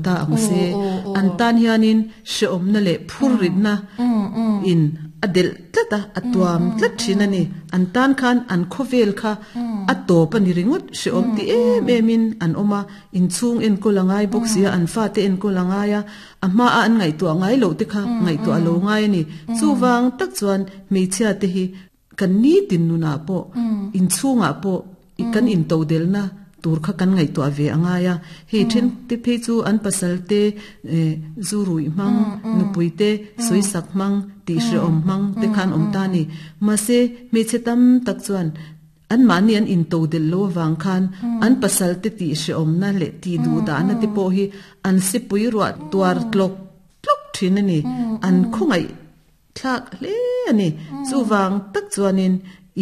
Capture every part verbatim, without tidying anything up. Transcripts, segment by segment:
Ta ang se an tan hianin hreawmna leh phurritna in a delh tlat a, a tuam tlat thin a ni. An tan khan an khawvel kha a tawp a ni ringawt, hreawm ti em em in an awm a, inchhung enkawl a ngai bawk si a, an fate enkawl a ngai a, a hma a an ngaihtuah ngai loh te kha ngaihtuah a lo ngai a ni. Chuvang tak chuan hmeichhia te hi kan nitin nunah pawh inchhungah pawh kan intodelna tur kha kan ngaihtuah ve a ngai a. Hei then te phei chu an pasal te zu ruih hmang, nupui te sawisak hmang, tih hrehawm hmang te khan awm ta a ni. Mahse hmeichhe tam tak chuan an mahni an intodelh lo avang khan an pasal te tih hrehawmna leh tih duhdahna te pawh hi an sipui ruah tuar tlawk tlawk thin a ni. An khawngaih thlak hle a ni. Chuvang tak chuanin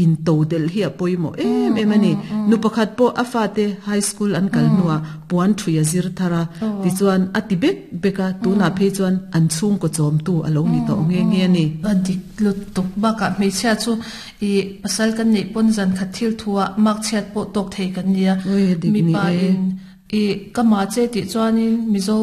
intodelh hi a pawimawh em em a ni. Nu pakhat pawh a fate high school an kal hnuah puan thui a zir thar a, tichuan a ti bek bek a, tunah phei chuan an chhungkaw chawmtu a lo ni tawh nghe nghe a ni. A dik lutuk bakah hmeichhia chu i pasal kan neih pawn zan khat thil thuah mark chhiat pawh tawk thei kan nia. Mipa in i ka ma che tih chuanin Mizo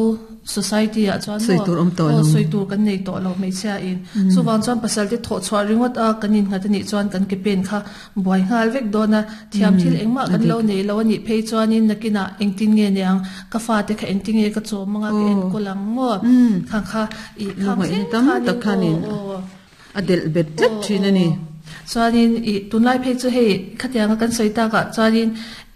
society ah chuan sawi tur awm tawh lo, sawi tur kan nei tawh lo hmeichhia in. Chuvang chuan pasal te thawh chhuah ringawt a kan innghat anih chuan kan ke pen kha buai nghal vek dawn a, thiam thil engmah kan lo nei lo anih phei chuanin nakinah engtin nge niang ka fate kha engtin nge ka chawm anga ka enkawl ang maw khang kha i khang thleng khanin a delh bet tlat thin a ni. Chuanin i tunlai phei chu hei khatianga kan sawi takah chuanin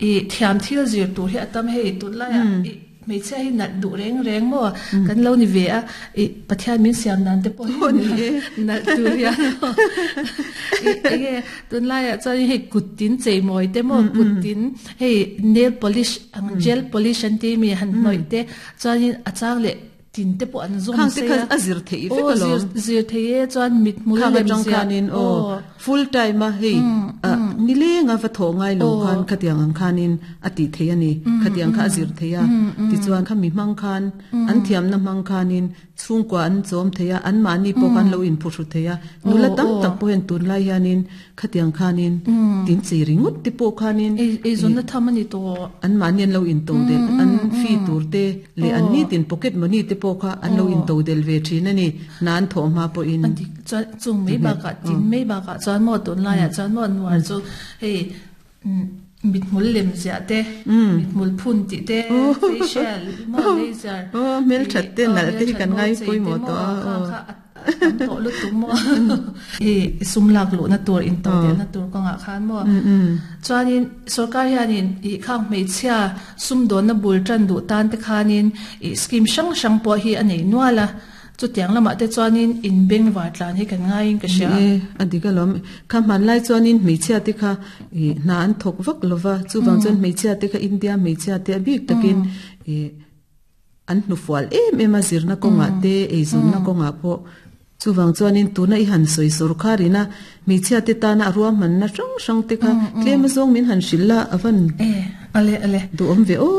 i thiam thil zir tur hi a tam hei tunlaiah i hmeichhia hi nalh duh reng reng maw kan lo ni ve a, i Pathian min siam dan te pawh hi nalh tur hian i enge tunlaiah chuanin hei kut tin chei mawi te maw kut tin hei nail polish ang gel polish an tih mi han hnawih te chuanin a chang leh tin te pawh an zawm se a a zir thei vek alawm zir thei e chuan mit hmul lem zia khanin aw full time a hei nilenga va thaw ngai lo khan khatiang ang khanin a ti thei ani khatiang kha a zir thei a tichuan kha mi hmang khan an thiamna hmang khanin chhungkua an chawm thei a an mahni pawh khan lo in phuhru thei a nula tam tak pawh hian tunlai hianin khatiang khanin tin chi ringawt te pawh khanin ei zawnna tham ani tawh an mahni an lo in to del an fee tur te leh an ni tin pocket money te pawh kha an lo in to del ve thin ani nan thaw hma pawhin chuan chung mai bakah tin mai bakah chuan maw tunlaiah chuan maw nuar chu hei mit hmul lem ziah te mit hmul phun tih te facial maw laser aw hmel that te nalh te hi kan ngai pawimawh tawh a kha tam tawh lutuk maw i sum lak luhna tur in to delna tur kawngah khan maw chuanin sarkar hianin i khang hmeichhia sum dawnna bul tan duh tan te khanin i scheme hrang hrang pawh hi a nei nual a chu tiang lamah te chuanin in beng var tlan hi kan ngaiin ka hria a dik alawm kha hmanlai chuanin hmeichhia te kha i hna an thawk vak lova chuvang chuan hmeichhia te kha India hmeichhia te a bik takin i an hnufual em em a zirna kawngah te eizawnna kawngah pawh chuvang chuanin tuna i han sawi sarkarina hmeichhia te tana a ruahmanna hrang hrang te kha tlem azawng min han hrilh la avan e ale ale duh awm ve aw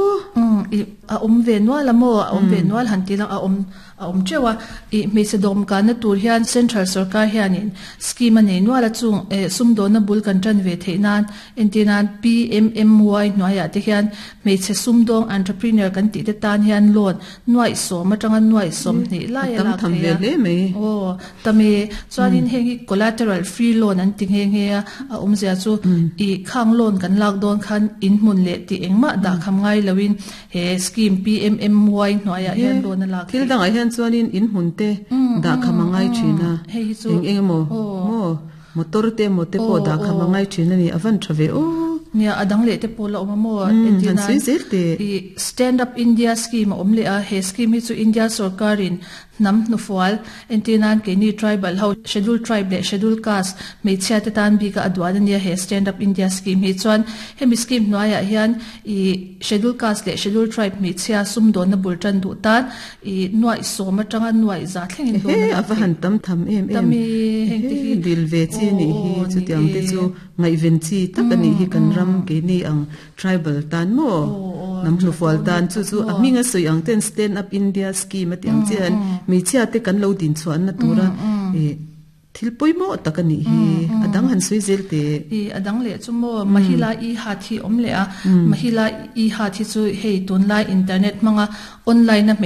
i a awm ve nual a maw a awm ve nual han ti lang a awm a awm teuh a i hmeichhe dawm kanna tur hian central sarkar hianin scheme a nei nual a chung e sumdawnna bul kan tan ve theih nan entirnan P M M Y hnuaiah te hian hmeichhe sumdawng entrepreneur kan tih te tan hian loan nuai sawm atanga nuai sawm hnih lai a tam lak tham thei ve a hle mai aw tami chuanin heng hi collateral free loan an ti nghe nghe a a awmzia chu i khang loan kan lak dawn khan in hmun leh tih engmah dah kham ngai loin he scheme P M M Y hnuaiah hian loan a lak thil dangah hian chuanin in hmun te dah kham a ngai thin a hei hi chu eng eng emaw maw motor te emaw te pawh dah kham a ngai thin ani avan tha ve aw nia adang leh te pawh la awm a maw han sawi zel te i stand up India scheme a awm leh a he scheme hi chu India sarkarin hnam hnufual entirnan keini tribal ho schedule tribe leh schedule caste hmeichhia te tan bika a duan ania he stand up India scheme hi chuan hemi scheme hnuaiah hian i schedule caste leh schedule tribe hmeichhia sumdawnna bul tan duh tan i nuai sawm atanga nuai za thlengin he loan a lak ava han tam tham em em Tami heng te hi dil ve chi ni hi Aw, chu tiang te ni e. chu ngaihven chi tak ani hi kan ram ke ni ang tribal tan mo nam hnufual tan chu chu a hminga sawi ang ten stand up India scheme ati ang chian hmeichhia te kan lo din chuan na tura e thil pawimawh tak ani hi adang han sawi zel te i adang leh chu maw mahila i hathi awm leh a mahila i hathi chu hei tunlai internet hmanga online na